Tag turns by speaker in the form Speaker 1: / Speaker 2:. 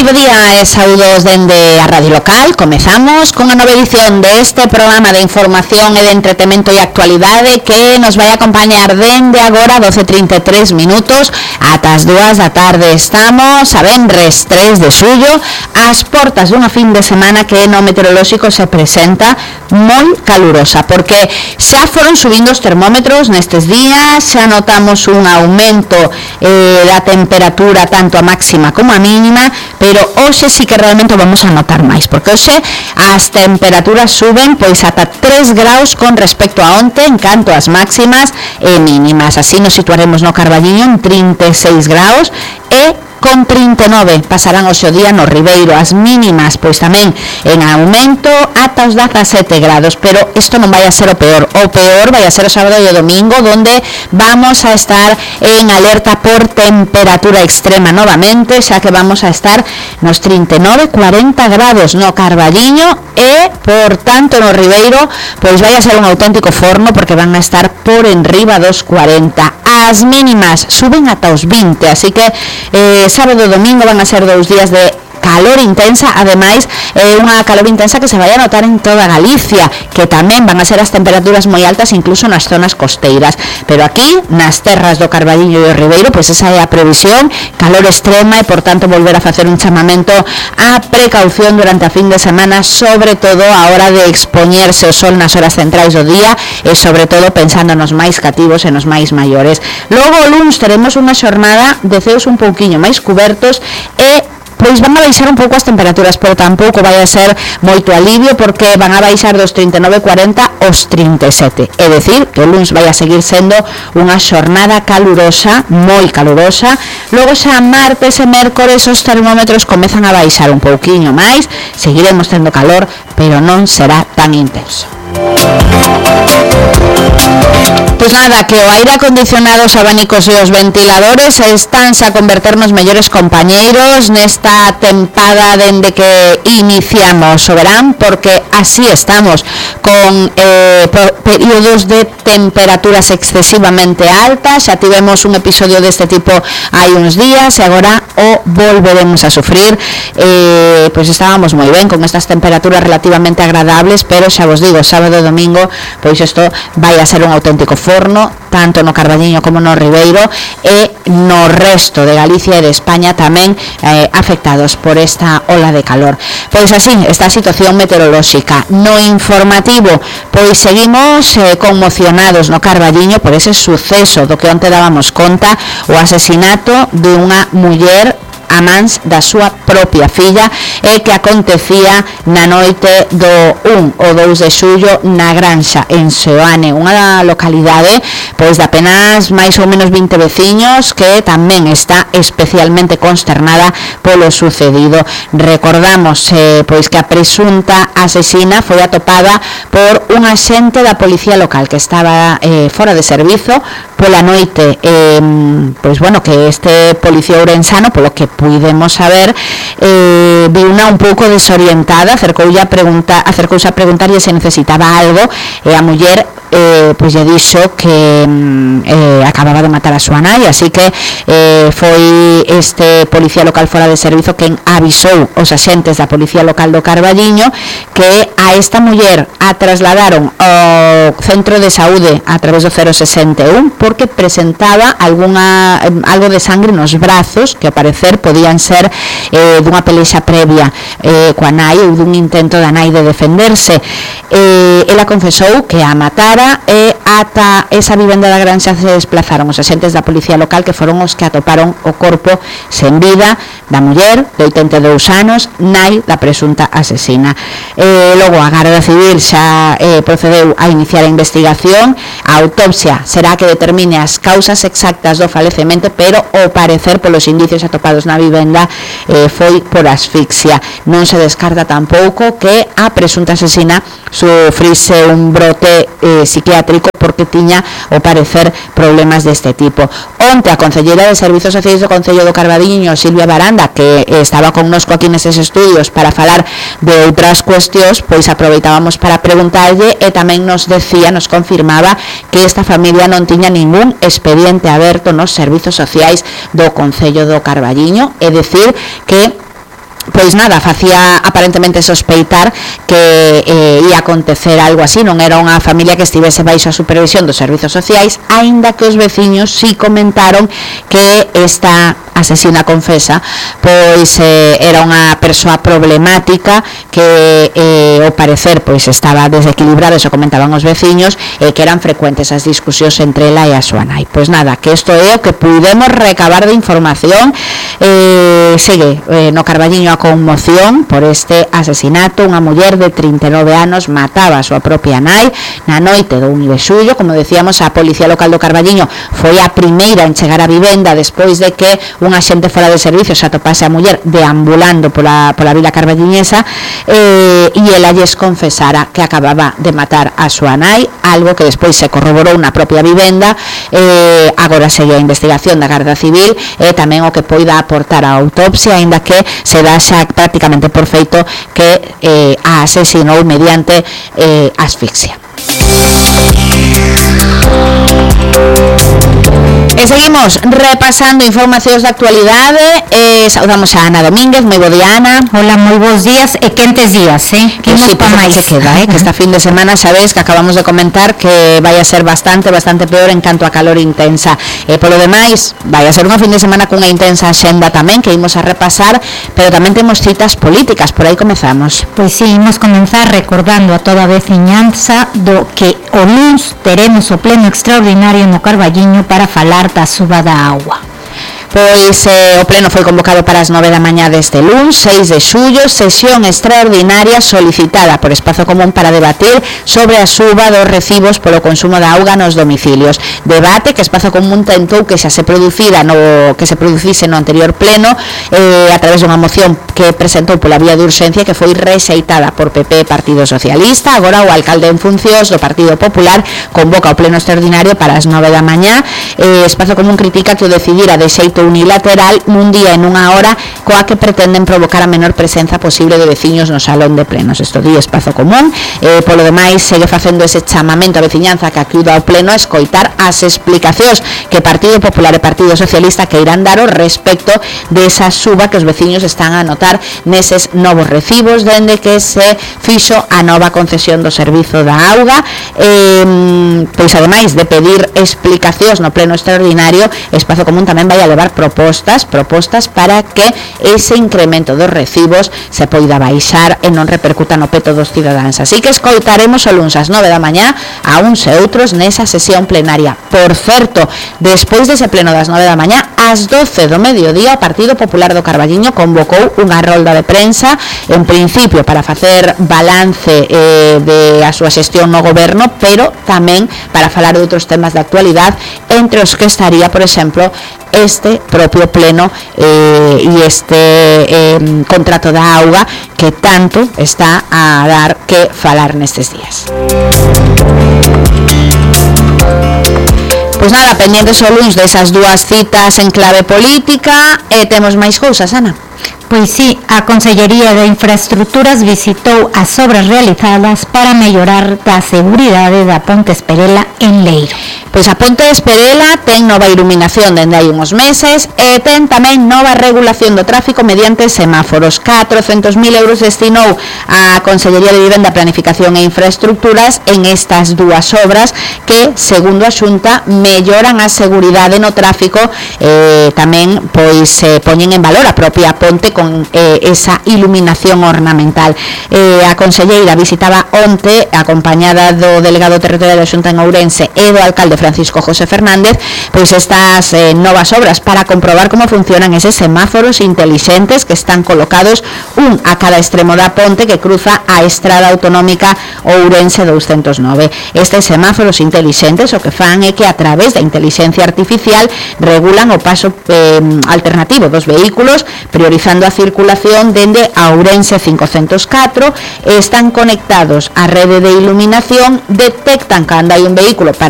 Speaker 1: bo día e saúdos dende a Radio Local. Comezamos con a nova edición deste programa de información e de entretemento e actualidade que nos vai acompañar dende agora 12:33 minutos ata as 2 da tarde. Estamos a venres 3 de xullo ás portas dunha fin de semana que no meteorolóxico se presenta moi calurosa, porque xa foron subindo os termómetros nestes días, xa notamos un aumento da temperatura tanto a máxima como a mínima, pero hoxe sí que realmente vamos a notar máis, porque hoxe as temperaturas suben pois ata 3 graus con respecto a onte en canto ás máximas e mínimas. Así nos situaremos no Carballiño en 36 graus e con 39 pasarán hoxe o día no Ribeiro. As mínimas pois tamén en aumento ata os 17 grados, pero isto non vai a ser o peor vai a ser o sábado e o domingo, donde vamos a estar en alerta por temperatura extrema novamente, xa que vamos a estar nos 39, 40 grados no Carballiño e, por tanto, no Ribeiro pois vai a ser un auténtico forno, porque van a estar por enriba dos 40. As mínimas suben ata os 20, así que sábado e domingo van a ser 2 días de calor intensa, ademais unha calor intensa que se vai a notar en toda Galicia, que tamén van a ser as temperaturas moi altas incluso nas zonas costeiras, pero aquí nas terras do Carballiño e o Ribeiro pois esa é a previsión, calor extrema, e por tanto volver a facer un chamamento á precaución durante a fin de semana, sobre todo a hora de expoñerse o sol nas horas centrais do día e sobre todo pensando nos máis cativos e nos máis maiores. Logo o luns teremos unha xornada de ceos un pouquiño máis cubertos e pois van a baixar un pouco as temperaturas, pero tampouco vai a ser moito alivio, porque van a baixar dos 39-40 aos 37. É dicir, que o luns vai a seguir sendo unha xornada calurosa, moi calurosa. Logo xa martes e mércores os termómetros comezan a baixar un pouquiño máis, seguiremos tendo calor, pero non será tan intenso. Pois nada, que o aire acondicionado, os abanicos e os ventiladores estánse a converter nos mellores compañeiros nesta tempada dende que iniciamos o verán, porque así estamos con períodos de temperaturas excesivamente altas. Xa tivemos un episodio deste tipo hai uns días e agora o volveremos a sufrir. Pois estábamos moi ben con estas temperaturas relativamente agradables, pero xa vos digo, sábado e domingo pois isto vai a ser un auténtico forno, tanto no Carballiño como no Ribeiro e no resto de Galicia e de España tamén afectados por esta ola de calor. Pois así, esta situación meteorolóxica. No informativo, pois seguimos conmocionados no Carballiño por ese suceso do que onte dábamos conta, o asesinato de unha muller a mans da súa propia filla, e que acontecía na noite do 1 ou 2 de xullo na Granxa, en Seoane, unha localidade pois de apenas máis ou menos 20 veciños, que tamén está especialmente consternada polo sucedido. Recordamos pois que a presunta asesina foi atopada por un axente da policía local que estaba fora de servizo pola noite. Pois bueno, que este policía ourensano, polo que puidemos saber, viuna un pouco desorientada, acercouse a preguntarlle se necesitaba algo, e a muller pois lle dixo que acababa de matar a súa nai, así que foi este policía local fora de servizo quen avisou os axentes da policía local do Carballiño que a esta muller a trasladaron ao centro de saúde a través do 061 porque presentaba algo de sangre nos brazos, que ao parecer podían ser dunha pelexa previa coa nai ou dun intento da nai de defenderse. Ela confesou que a matara e ata esa vivenda da Granxa se desplazaron os axentes da policía local, que foron os que atoparon o corpo sen vida da muller de 82 anos, nai da presunta asesina. Logo a Garda Civil xa procedeu a iniciar a investigación. A autopsia será que determine as causas exactas do falecemento, pero ao parecer polos indicios atopados na vivenda foi por asfixia. Non se descarta tampouco que a presunta asesina sufrise un brote psiquiátrico porque tiña, ao parecer, problemas deste tipo. Onte a concelleira de Servizos Sociais do Concello do Carballiño, Silvia Baranda, que estaba connosco aquí neses estudios para falar de outras cuestións, pois aproveitábamos para preguntarlle, e tamén nos confirmaba que esta familia non tiña ningún expediente aberto nos Servizos Sociais do Concello do Carballiño, é dicir que pois nada, facía aparentemente sospeitar que ia acontecer algo así. Non era unha familia que estivese baixo a supervisión dos servizos sociais, aínda que os veciños sí comentaron que esta asesina confesa pois era unha persoa problemática que ao parecer pois estaba desequilibrada, eso comentaban os veciños, que eran frecuentes as discusións entre ela e a súa nai. Pois nada, que isto é o que pudemos recabar de información. Segue no Carballiño a conmoción por este asesinato. Unha muller de 39 anos mataba a súa propia nai na noite do 1 de xullo. Como decíamos, a Policía Local do Carballiño foi a primeira en chegar á vivenda despois de que unha xente fora de servicio se atopase a muller deambulando pola vila carballiñesa, e ela lles confesara que acababa de matar a súa nai, algo que despois se corroborou na propia vivenda. Agora segue a investigación da Garda Civil e tamén o que poida aportar a autopsia, aínda que se dá xa prácticamente por feito que a asesinou mediante asfixia. E seguimos repasando informacións de actualidade. Saudamos a Ana Domínguez. Moi bo día, Ana.
Speaker 2: Hola, moi bons días e quentes días, que
Speaker 1: sí, pa máis se queda, que esta fin de semana sabes que acabamos de comentar que vai a ser bastante peor en canto a calor intensa. Polo demais, vai a ser unha fin de semana cunha intensa xenda tamén que imos a repasar, pero tamén temos citas políticas. Por aí comezamos.
Speaker 2: Pois sí, imos comenzar recordando a toda a veciñanza do que o luns teremos o pleno extraordinario no Carballiño para falar da suba da auga.
Speaker 1: Pois o pleno foi convocado para as 9 da mañá deste luns, 6 de xullo, sesión extraordinaria solicitada por Espazo Común para debatir sobre a suba dos recibos polo consumo da auga nos domicilios. Debate que Espazo Común tentou que xa se producise no anterior pleno a través dunha moción que presentou pola vía de urxencia, que foi rexeitada por PP e Partido Socialista. Agora o alcalde en funcións do Partido Popular convoca o pleno extraordinario para as 9 da mañá. Espazo Común critica que o decidira de xeito unilateral nun día e nunha hora coa que pretenden provocar a menor presenza posible de veciños no salón de plenos. Isto di Espazo Común. Polo demais, segue facendo ese chamamento a veciñanza que acuda ao pleno a escoitar as explicacións que Partido Popular e Partido Socialista que irán dar ao respecto desa suba que os veciños están a notar neses novos recibos dende que se fixo a nova concesión do servizo da auga. Pois ademais de pedir explicacións no pleno extraordinario, Espazo Común tamén vai a levar propostas para que ese incremento dos recibos se poida baixar e non repercuta no peto dos cidadáns. Así que escoitaremos o luns ás 9 da mañá a uns e outros nesa sesión plenaria. Por certo, despois dese pleno das 9 da mañá, ás 12 do mediodía, o Partido Popular do Carballiño convocou unha rolda de prensa, en principio para facer balance de a súa xestión no goberno, pero tamén para falar de outros temas de actualidade, entre os que estaría, por exemplo, este propio pleno e este contrato da auga que tanto está a dar que falar nestes días. Pois nada, pendientes o luns desas dúas citas en clave política. Temos máis cousas, Ana?
Speaker 2: Pois sí, a Consellería de Infraestructuras visitou as obras realizadas para mellorar a seguridade da Ponte Esperela en Leiro.
Speaker 1: Pois a Ponte Esperela ten nova iluminación dende hai uns meses e ten tamén nova regulación do tráfico mediante semáforos. 400.000 euros destinou a Consellería de Vivenda, Planificación e Infraestructuras en estas dúas obras que, segundo a Xunta, melloran a seguridade no tráfico. Tamén pois poñen en valor a propia ponte con esa iluminación ornamental. A conselleira visitaba onte acompañada do delegado territorial da Xunta en Ourense e do alcalde Francisco José Fernández pois estas novas obras para comprobar como funcionan eses semáforos intelixentes que están colocados un a cada extremo da ponte que cruza a estrada autonómica Ourense 209. Estes semáforos intelixentes o que fan é que a través da inteligencia artificial regulan o paso alternativo dos vehículos, priorizando a circulación dende a Ourense 504, están conectados á rede de iluminación, detectan cando hai un vehículo para